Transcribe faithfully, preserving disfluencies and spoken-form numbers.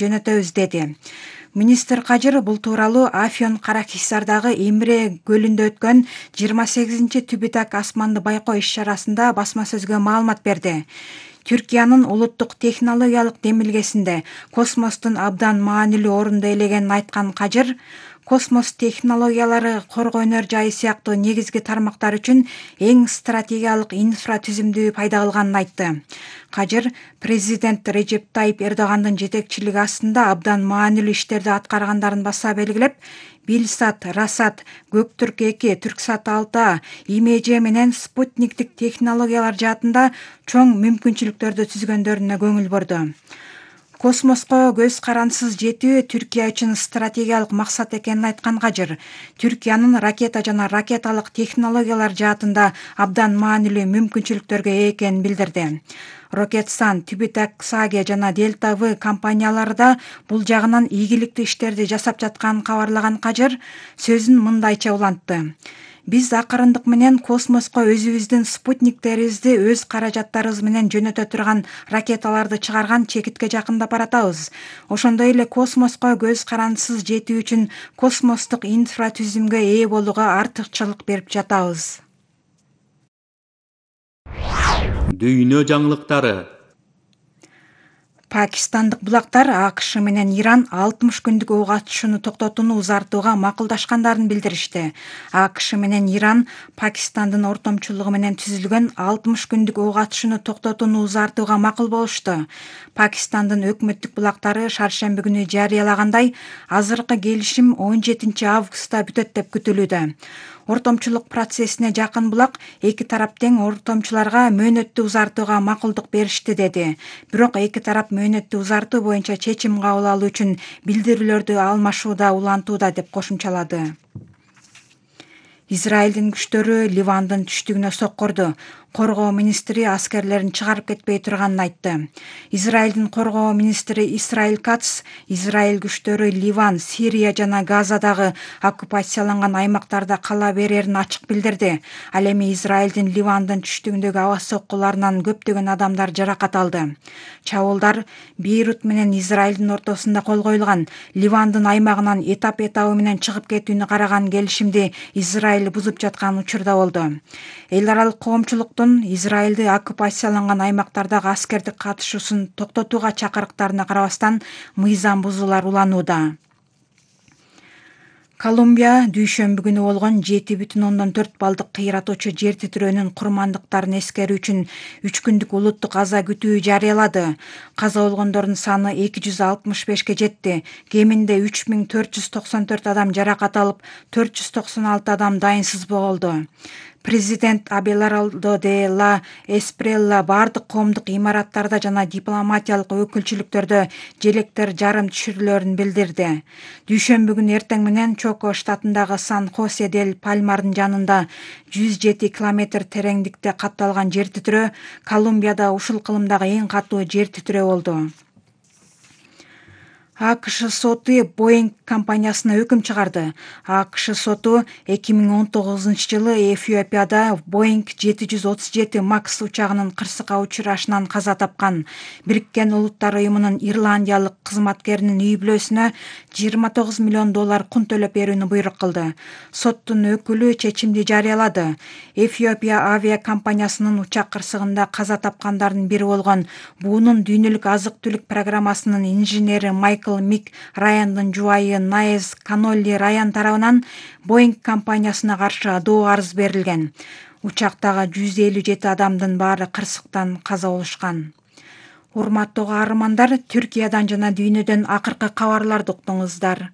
жөнөтөбүз деди. Министр Кажыр бул тууралуу Афьон Каракисардагы Эмре көлүндө өткөн жыйырма сегизинчи Түбүтак асманды байкоо иш-чарасында басма сөзгө маалымат берди. Түркиянын улуттук технологиялык демилгесинде космостун абдан маанилүү орунду ээлегенин айткан Кажыр, космос технологиялары коргоо өнөр жайы сыяктуу негизги тармактар үчүн эң стратегиялык инфратүзүмдү пайда кылганын айтты. Кажыр президент Режеп Тайип Эрдогандын жетекчилиги астында абдан маанилүү иштерди аткаргандарын баса белгилеп, Билсат, Расат, Көктүрк эки, Түрксат алты А, Имеже менен спутниктик технологиялар жаатында чоң мүмкүнчүлүктөрдү түзгөндөрүнө көңүл бурду. Космоско көз карансыз жетүү Түркия үчүн стратегиялык максат экенин айткан Кажыр, Түркиянын ракета жана ракеталык технологиялар жаатында абдан маанилүү мүмкүнчүлүктөргө ээ экенин билдирди. Рокетсан, Түбүтак Саге жана Дельта В компаниялары да бул жагынан ийгиликтүү иштерди жасап жатканын кабарлаган Кажыр сөзүн мындайча улантты. Биз акырындык менен космоско өзүбүздүн спутниктерибизди өз каражаттарыбыз менен жөнөтө турган ракеталарды чыгарган чекитке жакындап баратабыз. Ошондой эле космоско көз карансыз жетүү үчүн космостук инфратүзүмгө ээ болууга артыкчылык берип жатабыз. Дүйнө жаңылыктары. Пакистандык булактар АКШ менен Иран алтымыш күндүк ок атышууну токтотууну узартууга макулдашкандарын билдиришти. АКШ менен Иран Пакистандын ортомчулугу менен түзүлгөн алтымыш күндүк ок атышууну токтотууну узартууга макул болушту. Пакистандын өкмөттүк булактары шаршемби күнү жарыялагандай, азыркы келишим он жетинчи августта бүтөт деп күтүлүүдө. Ортомчулук процессине жакын булак эки тарап тең ортомчуларга мөөнөттү узартууга макулдук беришти деди. Бирок эки тарап мөөнөттү узартуу боюнча чечим кабыл алуу үчүн билдирүүлөрдү алмашууда улантууда деп кошумчалады. Израилдин күчтөрү Ливандын түштүгүнө соккурду. Коргоо министри аскерлерин чыгарып кетпей турганын айтты. Израилдин коргоо министри Исраил Кац Израиль күчтөрү Ливан, Сирия жана Газадагы оккупацияланган аймактарда кала берерин ачык билдирди. Ал эми Израилдин Ливандын түштүгүндөгү аба соккуларынан көптөгөн адамдар жаракат алды. Чабуулдар Бейрут менен Израилдин ортосунда кол коюлган Ливандын аймагынан этап-этабы менен чыгып кетүүнү караган келишимди Израиль бузуп жаткан учурда болду. Эл аралык коомчулуктун Израилди оккупацияланган аймактардагы аскердик катышуусун токтотууга чакырыктарына карабастан мыйзам бузуулар уланууда. Колумбия дүйшөмбү күнү болгон жети бүтүн ондон төрт баллдык кыйратуучу жер титирөөнүн курмандыктарын эскерүү үчүн үч күндүк улуттук аза күтүү жарыялады. Каза болгондордун саны эки жүз алтымыш бешке жетти. Кеминде үч миң төрт жүз токсон төрт адам жаракат алып, төрт жүз токсон алты адам дайынсыз болду. Президент Абелардо де ла Эспрелла бардык коомдук имараттарда жана дипломатиялык өкүлчүлүктөрдө желектер жарым түшүрүлөрүн билдирди. Дүйшөмбү күнү эртең менен Чоко штатындагы Сан-Хосе дель Пальмардын жанында жүз жети километр тереңдикте катталган жер титирөө Колумбияда ушул кылымдагы эң катуу жер титирөө болду. АКШ соту Боинг компаниясына өкүм чыгарды. АКШ соту эки миң он тогузунчу жылы Эфиопияда Боинг жети жүз отуз жети Макс учагынын кырсыкка учурашынан каза тапкан Бириккен Улуттар уюмунун ирландиялык кызматкеринин үй бүлөсүнө жыйырма тогуз миллион доллар кун төлөп берүүнү буйрук кылды. Соттун өкүлү чечимди жарыялады. Эфиопия авиакомпаниясынын учак кырсыгында каза тапкандардын бири болгон буунун дүйнөлүк азык-түлүк программасынын инженери Майкл Мик Раяндын жубайы Наэс Канолли Раян тарабынан Боинг компаниясына каршы адоо арыз берилген. Учактагы жүз элүү жети адамдын баары кырсыктан каза болушкан. Урматтуу каармандар, Түркиядан жана дүйнөдөн акыркы кабарларды уктуңуздар.